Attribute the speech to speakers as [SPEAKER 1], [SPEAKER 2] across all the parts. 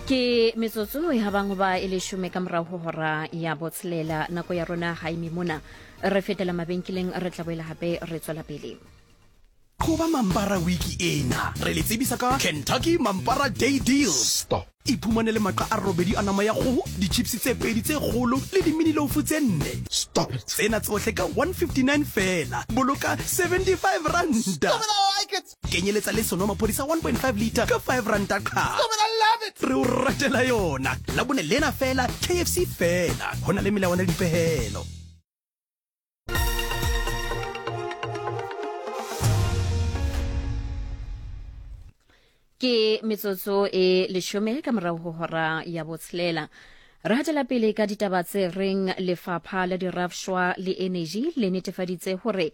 [SPEAKER 1] Ke metsotso e habang hoba e leshome ka morago ho hora ya botshelela. Nako ya rona ga eme mona. Re fetela mabenkeleng, re tla boela gape re tswela pele.
[SPEAKER 2] Go ba Mampara wiki ena re le tsebisa ka Kentucky Mampara Day Deals.
[SPEAKER 3] Stop.
[SPEAKER 2] Iphumanele maqa a robedi a nama ya kgoho, di-chips tse pedi tse kgolo le di-mini loaf tse nne.
[SPEAKER 3] Stop it.
[SPEAKER 2] Tsena tsohle ka 159 feela. Boloka 75 ranta.
[SPEAKER 3] Stop it, I like it.
[SPEAKER 2] Kenyeletsa le senomaphodi sa 1.5 litre ka 5 ranta qha.
[SPEAKER 3] Stop it, I love it.
[SPEAKER 2] Re o ratela yona. Labone lena feela, KFC feela. Ho na le melawana le dipehelo.
[SPEAKER 1] Ke metsotso e leshome ka morago go hora ya botshelela. Re hatela pele ka ditaba tse reng lefapha la dirafshwa le energy le netefaditse gore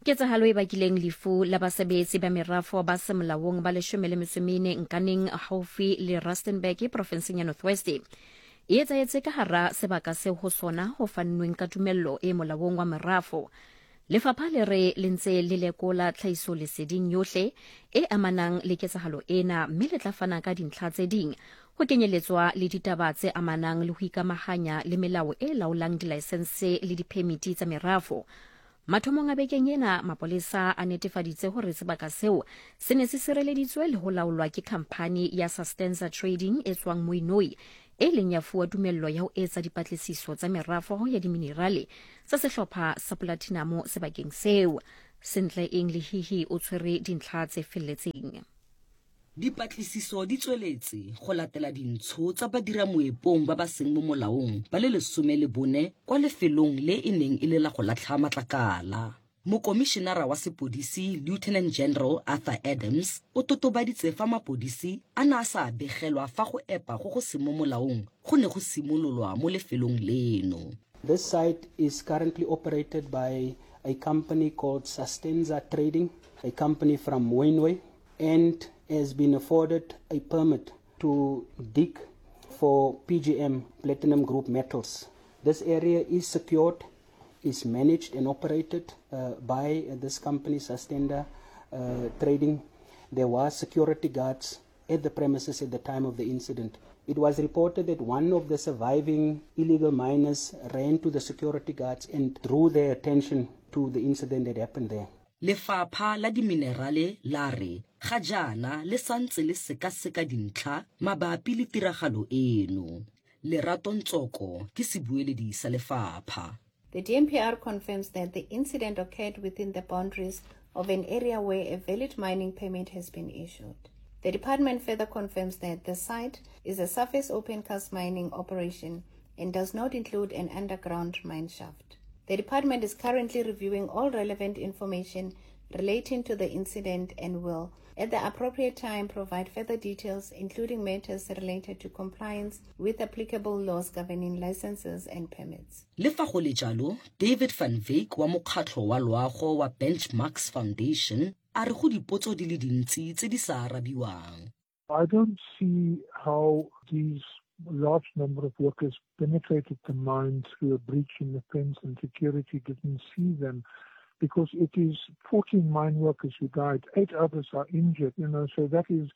[SPEAKER 1] ketsahalo e bakileng lefu la basebetsi ba merafo ba semolaong ba leshome le metso mene Nkaneng haufi le Rustenburg profenseng ya North West e etsahetse ka hara sebaka seo ho sona ho fannweng ka tumello e molaong wa merafo. Lefapha le re le ntse le lekola tlhahisoleseding yohle e amanang le ketsahalo ena mme le tla fana ka dintlha tse ding ho kenyeletswa le ditaba tse amanang le ho ikamahanya le melao e laolang dilaesense le diphemiti tsa merafo. Mathomong a bekeng ena, mapolesa a netefaditse hore sebaka seo se ne se sireleditswe le ho laolwa ke khamphani ya Sustenza Trading e tswang Mooinooi e ileng ya fuwa tumello ya ho etsa dipatlisiso tsa merafo ya diminerale tsa sehlopha sa polatinamo sebakeng seo. Sentle Eng Lehihi o tshwere dintlha tse felletseng.
[SPEAKER 4] Dipatlisiso di tsweletse go latela dintsho tsa badiramoepong ba ba seng mo molaong ba le 14 kwa lefelong le e neng e le la go latlha matlakala. Mokomišenara wa sepodisi Lieutenant General Arthur Adams o totobaditse fa mapodisi a ne a sa begelwa fa go epa go go seng mo molaong go ne go simololwa mo lefelong leno.
[SPEAKER 5] This site is currently operated by a company called Sustenza Trading, a company from Mooinooi, and has been afforded a permit to dig for PGM, Platinum Group Metals. This area is secured, is managed and operated by this company, Sustenza Trading. There were security guards at the premises at the time of the incident. It was reported that one of the surviving illegal miners ran to the security guards and drew their attention to the incident that happened there.
[SPEAKER 4] Lefapha la Diminerale la re ga jaana le santse le sekaseka dintlha mabapi le tiragalo eno. Lerato Ntsoko ke sebueledi sa lefapha.
[SPEAKER 6] The DMPR confirms that the incident occurred within the boundaries of an area where a valid mining permit has been issued. The department further confirms that the site is a surface open cast mining operation and does not include an underground mine shaft. The department is currently reviewing all relevant information relating to the incident and will, at the appropriate time, provide further details, including matters related to compliance with applicable laws governing licenses and permits.
[SPEAKER 4] Le fa go le jalo, David van Wyk wa mokgatlho wa loago wa Benchmarks Foundation a re go dipotso di le dintsi tse di sa arabiwang.
[SPEAKER 7] I don't see how these large number of workers penetrated the mine through a breach in the fence and security didn't see them, because it is 14 mine workers who died, 8 others are injured, so that is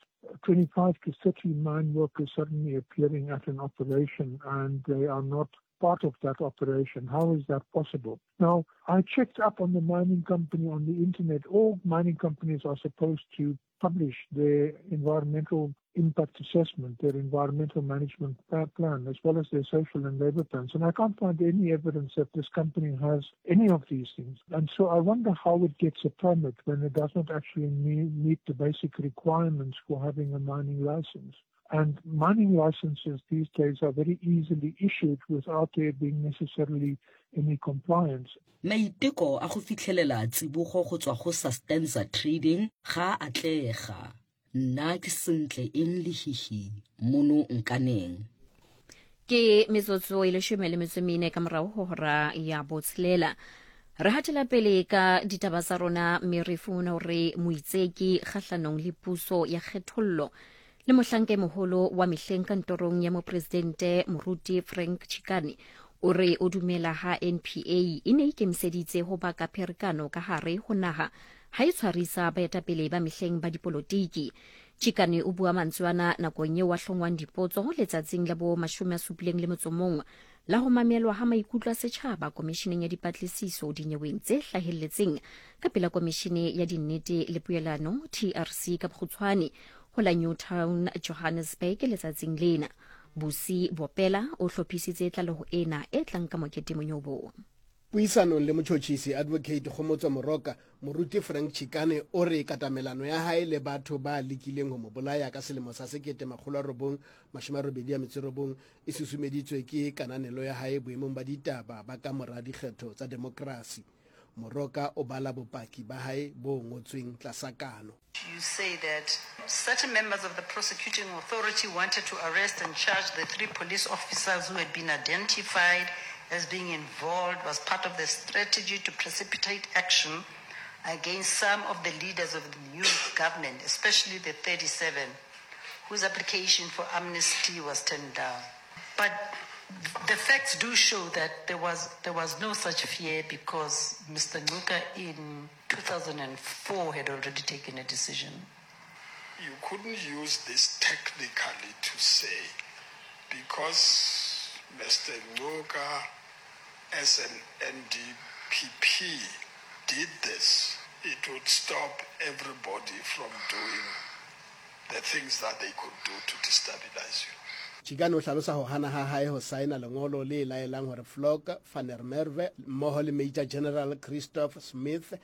[SPEAKER 7] 25 to 30 mine workers suddenly appearing at an operation and they are not part of that operation. How is that possible? Now, I checked up on the mining company on the internet. All mining companies are supposed to publish their environmental impact assessment, their environmental management plan, as well as their social and labor plans. And I can't find any evidence that this company has any of these things. And so I wonder how it gets a permit when it does not actually meet the basic requirements for having a mining license. And mining licenses these days are very easily issued without there being necessarily any compliance.
[SPEAKER 4] Maiteko a go fitlhelela tsibogo go tswa go Sustenza Trading ga a atlega. Nna ke Sentle Eng Lehihi mono Nkaneng.
[SPEAKER 1] Ke metsotso e leshome le metso mene ka morago go hora ya botshelela. Re hatela pele ka ditaba tsa rona mme re fumana hore moitseki kgahlanong le puso ya kgethollo le mohlanka e moholo wa mehleng kantorong ya mopresidente Moruti Frank Chikane o re o dumela ha NPA e ne ikemiseditse ho baka pherekano ka hare ho naha ha e tshwarisa baetapele ba mehleng ba dipolotiki. Chikane o bua mantswe ana nakong eo a hlongwang dipotso letsatsing la bo 71 la ho mamelwa ha maikutlo a setjhaba Komisheneng ya Dipatlisiso dinyeweng tse hlahelletseng ka pela Komishene ya Dinnete le Poelano, TRC ka bokgutshwane, ho la Newtown, Johannesburg letsatsing lena. Busi Bopela o hlophisitse tlaleho ena e tlang ka Mokete Monyobo.
[SPEAKER 8] Puisanong le motšhotšhisi Advocate Kgomotso Moroka, Moruti Frank Chikane o re katamelano ya hae le batho ba lekileng ho mo bolaya ka selemo sa 1989 e susumeditswe ke kananelo ya hae boemong ba ditaba ba ka mora dikgetho tsa demokrasi. Moroka o bala bopaki ba hae bo ngotsweng tlasa kano.
[SPEAKER 9] You say that certain members of the prosecuting authority wanted to arrest and charge the three police officers who had been identified as being involved was part of the strategy to precipitate action against some of the leaders of the new government, especially the 37, whose application for amnesty was turned down. But the facts do show that there was, there was no such fear because Mr. Nguka in 2004 had already taken a decision.
[SPEAKER 10] You couldn't use this technically to say because Mr. Nguka as an NDPP did this, it would stop everybody from doing the things that they could do to destabilize you.
[SPEAKER 8] Chikane o hlalosa ho hana ha hae ho saena lengolo le laelang hore Vlok van der Merwe mmoho le Major General Christoph Smith,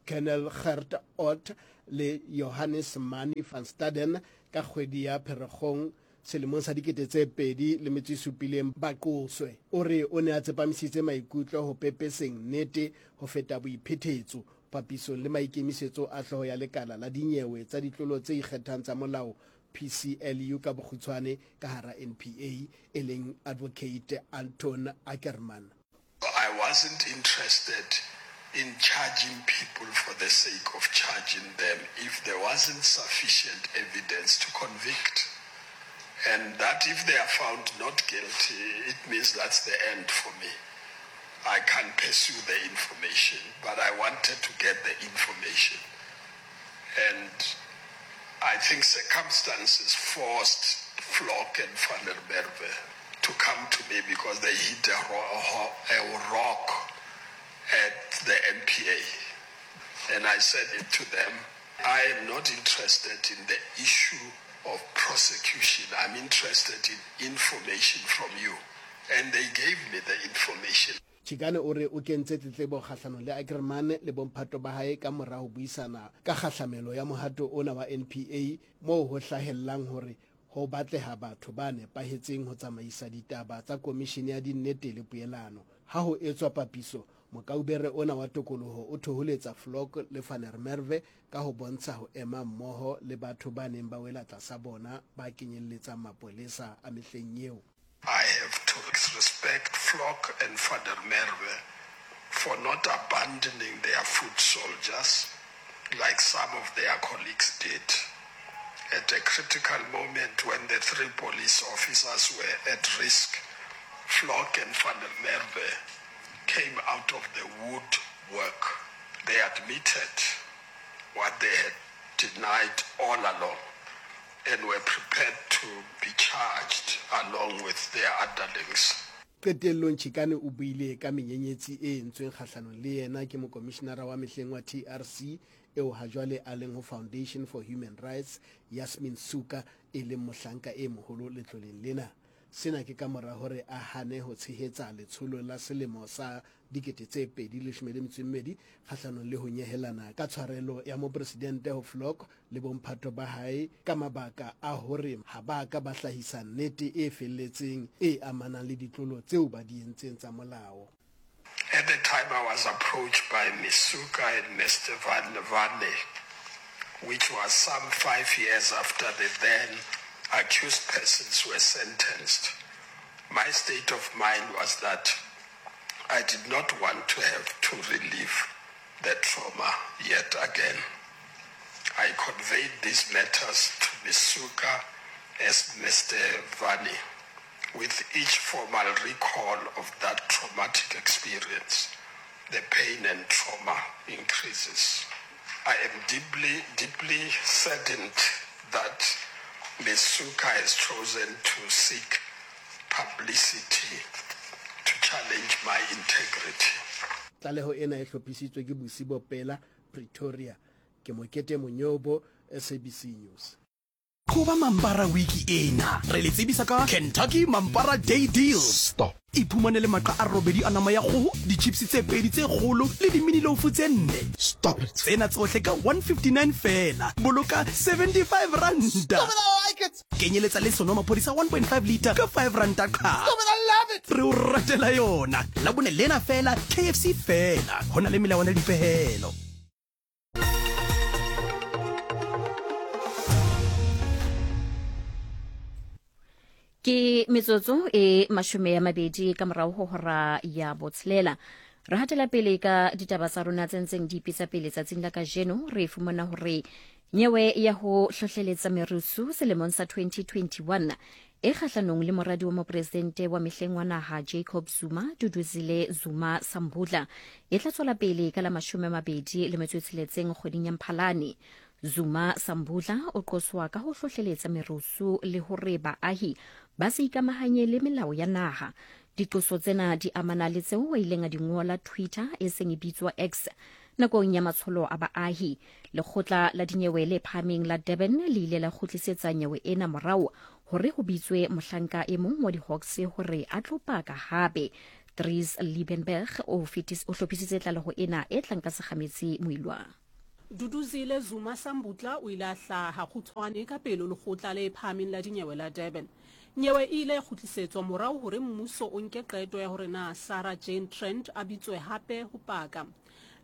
[SPEAKER 8] Colonel Gert Ott le Johannes Mani van Staden ka kgwedi ya Pherekgong selemong sa 2007 ba qoswe. O re o ne a tsepamisitse maikutlo ho pepeseng nnete ho feta boiphethetso papisong le maikemisetso a hlooho ya lekala la dinyewe tsa ditlolo tse ikgethang tsa molao PCLU ka bokgutshwane ka hara NPA e leng Advocate Anton Ackermann.
[SPEAKER 10] I wasn't interested in charging people for the sake of charging them if there wasn't sufficient evidence to convict. And that if they are found not guilty, it means that's the end for me. I can't pursue the information, but I wanted to get the information. And I think circumstances forced Vlok and Van der Merwe to come to me because they hit a, a rock at the NPA. And I said it to them, I am not interested in the issue of prosecution. I'm interested in information from you. And they gave me the information.
[SPEAKER 8] Chikane o re o kentse tletlebo kgahlanong le Ackermann le bomphato ba hae ka mora ho buisana ka kgahlamelo ya mohato ona wa NPA moo ho hlahellang hore ho batleha batho ba nepahetseng ho tsamaisa ditaba tsa komishene ya dinnete le poelano. Ha ho etswa papiso, mokaubere ona wa tokoloho o thoholetsa Vlok le Van der Merwe ka ho bontsha ho ema mmoho le batho ba neng ba wela tlasa bona ba kenyelletsang mapolesa a mehleng eo.
[SPEAKER 10] I have to respect Vlok and Van der Merwe for not abandoning their foot soldiers like some of their colleagues did. At a critical moment when the three police officers were at risk, Vlok and Van der Merwe came out of the woodwork. They admitted what they had denied all along and were prepared to be charged along with their underlings.
[SPEAKER 8] Qetellong Chikane o buile ka menyenyetsi e entsweng kgahlanong le yena ke mokomishinara wa mehleng wa TRC eo hajwale a leng ho Foundation for Human Rights, Yasmin Sooka, e leng mohlanka e moholo letloleng lena. Sena ke kamora hore a hane ho tshehetsa letsholo la selemo sa 2012 kgahlanong le ho nyehelana ka tshwarelo ya mopresidente ho Vlok le bomphato ba hae ka mabaka a hore ha ba ka ba hlahisa nnete e felletseng e amanang le ditlolo tseo ba di entseng tsa molao.
[SPEAKER 10] At the time I was approached by Ms Suka and Mr Van Vane, which was some five years after the then accused persons were sentenced. My state of mind was that I did not want to have to relive the trauma yet again. I conveyed these matters to Ms. Suka as Mr. Vani with each formal recall of that traumatic experience, the pain and trauma increases. I am deeply, deeply saddened that Ms Suka has chosen to seek publicity to challenge my integrity.
[SPEAKER 8] Tlaleho ena e hlophisitswe ke Busi Bopela, Pretoria. Ke Mokete Monyobo, SABC News.
[SPEAKER 2] Qoba Mampara wiki ena, re le tsebisa ka Kentucky Mampara Day Deals. Stop. Iphumanele maqa a robedi a nama ya kgoho, di-chips tse pedi tse kgolo le di-mini loaf tse nne. Stop it. Tsena tsohle ka 159 feela. Boloka 75 ranta.
[SPEAKER 3] Stop it, I like it.
[SPEAKER 2] Kenyeletsa le senomaphodi sa 1.5 litre ka 5 ranta qha.
[SPEAKER 3] Stop it, I love it.
[SPEAKER 2] Re o ratela yona. Labone lena feela, KFC feela. Ho na le melawana le dipehelo.
[SPEAKER 1] Ke metsotso e mashome ya mabedi ka morago go hora ya botshelela. Re hatela pele ka ditaba tsa rona tse ntseng di ipitsa pele tsatsing la kajeno. Re fumana hore nyewe ya ho hlohleletsa merusu selemong sa 2021 e kgahlanong le moradi wa mopresidente wa mehleng wa naha Jacob Zuma, Duduzile Zuma Sambudla, e tla tswela pele ka la 26 kgweding ya Mphalane. Zuma Sambudla o qoswa ka ho hlohleletsa merusu le hore baahi ba se ikamahanye le melao ya naha. Diqoso tsena di amana le tseo a ileng a di ngola Twitter e seng e bitswa X nakong ya matsholo a baahi. Lekgotla la dinyewe le phahameng la Durban le ile la kgutlisetsa nyewe ena morao hore ho bitswe mohlanka e mong wa di-Hawks hore a tlo paka hape. Dries Liebenberg o o hlophisitse tlaleho ena e tlang ka Segametsi Moilwa.
[SPEAKER 11] Duduzile Zuma Sambutla o ile a hlaha kgutshwane ka pele ho Lekgotla le Phahameng la Dinyewe la Durban. Nyewe e ile ya kgutlisetswa morao hore mmuso o nke qeto ya hore na Sarah Jane Trent a bitswe hape ho paka.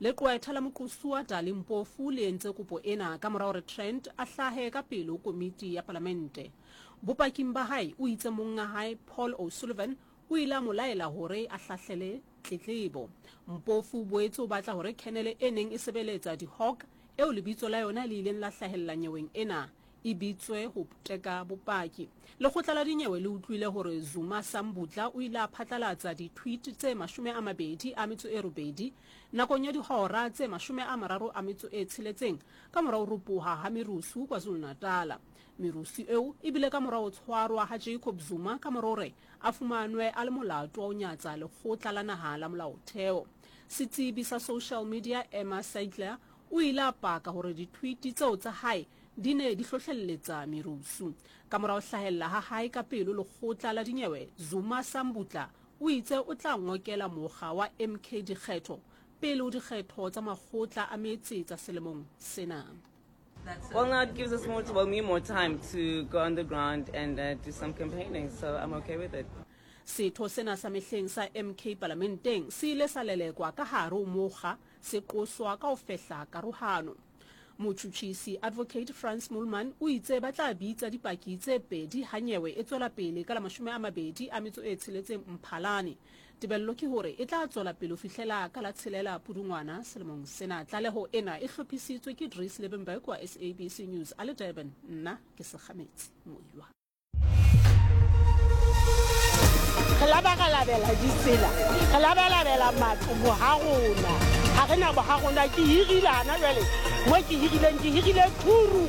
[SPEAKER 11] Leqwetha la moqosuwa Dali Mpofu le entse kopo ena ka mora hore Trent a hlahe ka pele ho komiti ya palamente. Bopaking ba hae o itse monnga hae Paul O'Sullivan o ile a mo laela hore a hlahlele tletlebo. Mpofu o boetse o batla hore khenele e neng e sebeletsa di-Hawk eo lebitso la yona le ileng la hlahella nyeweng ena e bitswe ho teka bopaki. Lekgotla la dinyewe le utlwile hore Zuma Sambudla o ile a phatlalatsa di-tweet tse 28 nakong ya dihora tse 36 ka mora ho ropoha ha merusu KwaZulu-Natala. Merusu eo e bile ka mora ho tshwarwa ha Jacob Zuma ka mora hore a fumanwe a le molato wa ho nyatsa Lekgotla la Naha la Molaotheo. Setsebi sa social media Emma Seidler o ile a paka hore di-tweet tseo tsa hae di ne di hlohlelletsa merusu. Ka mora ho hlahella ha hae ka pelo lekgotla la dinyewe, Zuma Sambutla o itse o tla ngokela mokga wa MK dikgetho pele ho dikgetho tsa makgotla a metse tsa selemong sena.
[SPEAKER 12] Well, now it gives us more, well, me more time to go on the ground and uh, do some campaigning, so I'm okay with it.
[SPEAKER 11] Setho sena sa mehleng sa MK palamenteng se ile sa lelekwa ka hare ho mokga se qoswa ka ho fehla karohano. Motjhutjhisi Advocate Frans Moolman o itse ba tla bitsa dipaki tse pedi ha nyewe e tswela pele ka la 26 Mphalane. Tebello ke hore e tla tswela pele ho fihlela ka la tshelela Pudungwana selemong sena. Tlaleho ena e hlophisitswe ke Dries Liebenberg wa SABC News a le Durban. Nna ke Sekgametsi Moilwa.
[SPEAKER 13] Re labalabela ditsela, re labalabela matlo boha rona. Ha re na boha rona, ke hirile hana jwale mo ke hirileng, ke hirile thuru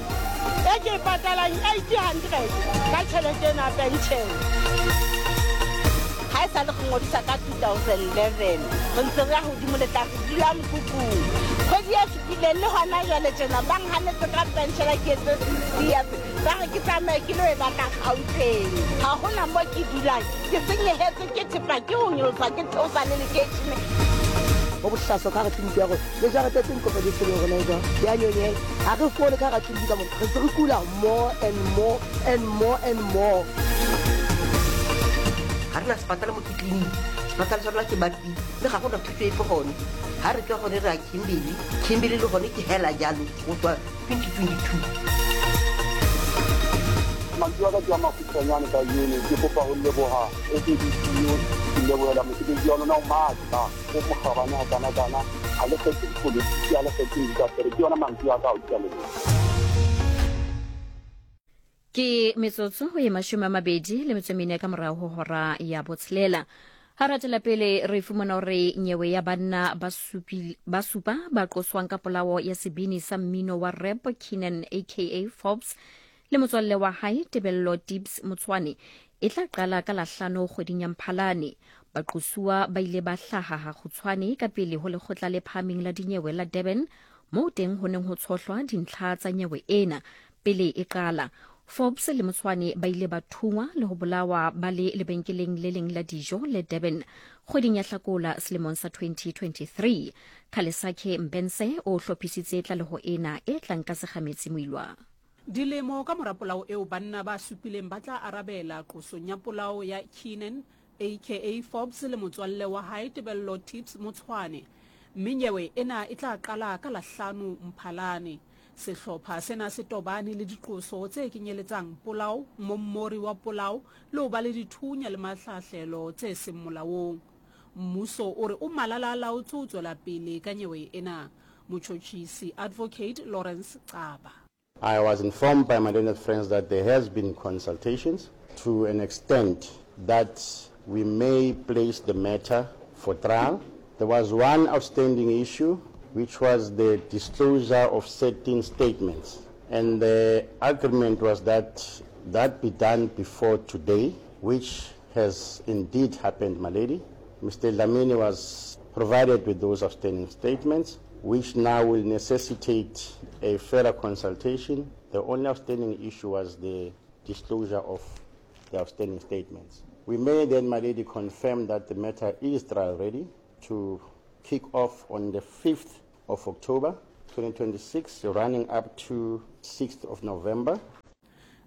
[SPEAKER 13] e ke e patalang 800 ka tjhelete ena ya penshene.
[SPEAKER 14] Ha e sa le re ngodisa ka 2011, re ntse re ya hodimo le tlase, re dula mokhukhung. Kgwedi e fetileng le hona jwale tjena ba nhanetse ka penshela ke etse 60 years. Ba re ke tsamaye ke lo e batla Gauteng. Ha hona mo ke dulang, ke senyehetswe ke thepa ke ho nyolosa ke theosa le lekeishene.
[SPEAKER 15] Go bohlaswa ka gare tleliniki ya rona le jarete tse dikopa di tshweleng rona jwang di a nyonyela ga re fole ka gare tleliniki ka mona re ntse re kula more and more and more and more.
[SPEAKER 16] Ga re na sepatala mo ke tleliniki sepatala sa rona ke Batpi mme ga gona thuso epe gone ga re tswa gone re ya Kimberley Kimberley le gone ke hela jalo go tswa 2022.
[SPEAKER 17] Mantswe a ka ke a makgutshwanyane kajeno, ke kopa ho leboha SABC News, ke lebohela mosebetsi wa lona o matla, o mokgabane hakanakana, ha le kgethe dipolotiki, ha le kgethe indasteri. Ke yona mantswe a ka ao, ke a leboha.
[SPEAKER 1] Ke metsotso e 24 ka morago ho hora ya botshelela. Ha re atela pele re fumana hore nyewe ya banna ba supi, ba supa ba qoswang ka polao ya sebini sa mmino wa rap Keenan aka Forbes le motswalle wa hae Tebello Tibbs Motshwane e tla qala ka Lahlano kgweding ya Mphalane. Baqosuwa ba ile ba hlaha hakgutshwane ka pele ho Lekgotla le Phahameng la Dinyewe la Durban moo teng ho neng ho tshohlwa dintlha tsa nyewe ena pele e qala. Forbes le Motshwane ba ile ba thungwa le ho bolawa ba le lebenkeleng le leng la dijo le Durban kgweding ya Hlakola selemong sa 2023. Khalesakhe Mbense o hlophisitse tlaleho ena e tlang ka Segametsi Moilwa.
[SPEAKER 11] Dilemo ka mora polao eo banna ba supileng ba tla arabela qosong ya polao ya Keenan aka Forbes le motswalle wa hae Tebello Tips Motshwane mme nyewe ena e tla qala ka la hlano Mphalane. Sehlopha sena se tobane le diqoso tse kenyeletsang polao, mommori wa polao le ho ba le dithunya le mahlahlelo tse seng molaong. Mmuso o re o malala-a-laotswe ho tswela pele ka nyewe ena. Motjhotjhisi Advocate Lawrence Xaba.
[SPEAKER 18] I was informed by my learned friends that there has been consultations to an extent that we may place the matter for trial. There was one outstanding issue, which was the disclosure of certain statements. And the agreement was that that be done before today, which has indeed happened, my lady. Mr. Dlamini was provided with those outstanding statements, which now will necessitate a further consultation. The only outstanding issue was the disclosure of the outstanding statements. We may then, my lady, confirm that the matter is trial ready to kick off on the 5th of October 2026, running up to 6th of November.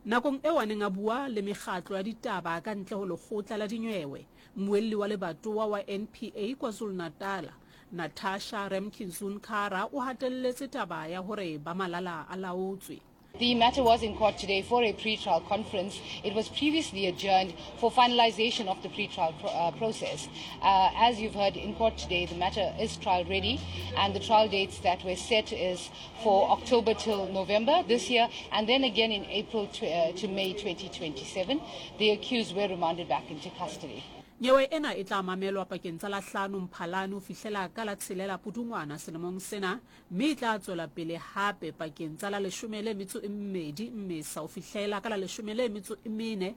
[SPEAKER 11] Nakong eo a neng a bua le mekgatlo ya ditaba ka ntle ho lekgotla la dinyewe, mmuelli wa lebatowa wa NPA KwaZulu-Natal, Natasha Ramkinsoon-Kara o hatelletse taba ya hore ba malala a laotswe.
[SPEAKER 19] The matter was in court today for a pre-trial conference. It was previously adjourned for finalization of the pre-trial pro uh, process. Uh, as you've heard in court today, the matter is trial ready and the trial dates that were set is for October till November this year and then again in April to, uh, to May 2027. The accused were remanded back into custody.
[SPEAKER 11] Nyewe ena e tla mamelwa pakeng tsa la hlano Mphalane ho fihlela ka la tshelela Pudungwana selemong sena mme e tla tswela pele hape pakeng tsa la leshome le metso e mmedi Mmesa ho fihlela ka la leshome le metso e mene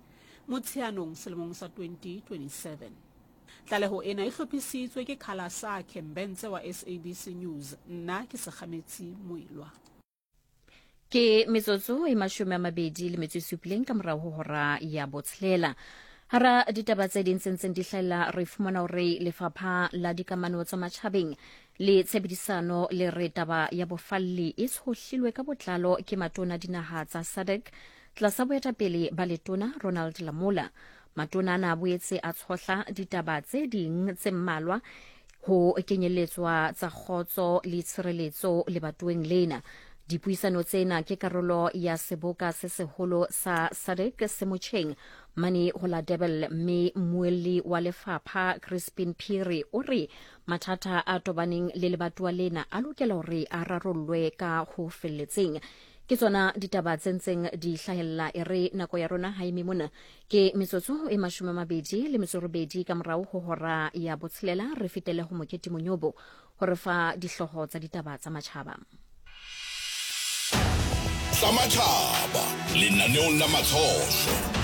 [SPEAKER 11] Motsheanong selemong sa 2027. Tlaleho ena e hlophisitswe ke Khalasakhe Mbentse wa SABC News. Nna ke Sekgametsi Moilwa.
[SPEAKER 1] Ke metsotso e 27 le metso e supileng ka morago ho hora ya botshelela. Hara ditaba tse ding tse ntseng di hlahella re fumana hore lefapha la dikamano tsa matjhabeng le tshebedisano le re taba ya bofalli e tshohlilwe ka botlalo ke matona dinaha tsa SADC tlasa boetapele ba letona Ronald Lamola. Matona ana a boetse a tshohla ditaba tse ding tse mmalwa ho kenyelletswa tsa kgotso le tshireletso lebatoweng lena. Dipuisano tsena ke karolo ya seboka se seholo sa SADC se motjheng mane ho la Durban mme mmuelli wa lefapha Crispin Phiri o re mathata a tobaneng le lebatowa lena a lokela hore a rarollwe ka ho felletseng. Ke tsona ditaba tse ntseng di hlahella e re nako ya rona ha eme mona ke metsotso e 28 ka morao ho hora ya botshelela re fetele ho Mokete Monyobo ho re fa dihloho tsa ditaba tsa matjhaba.
[SPEAKER 20] Tsa matjhaba lenaneong la Matshohlo.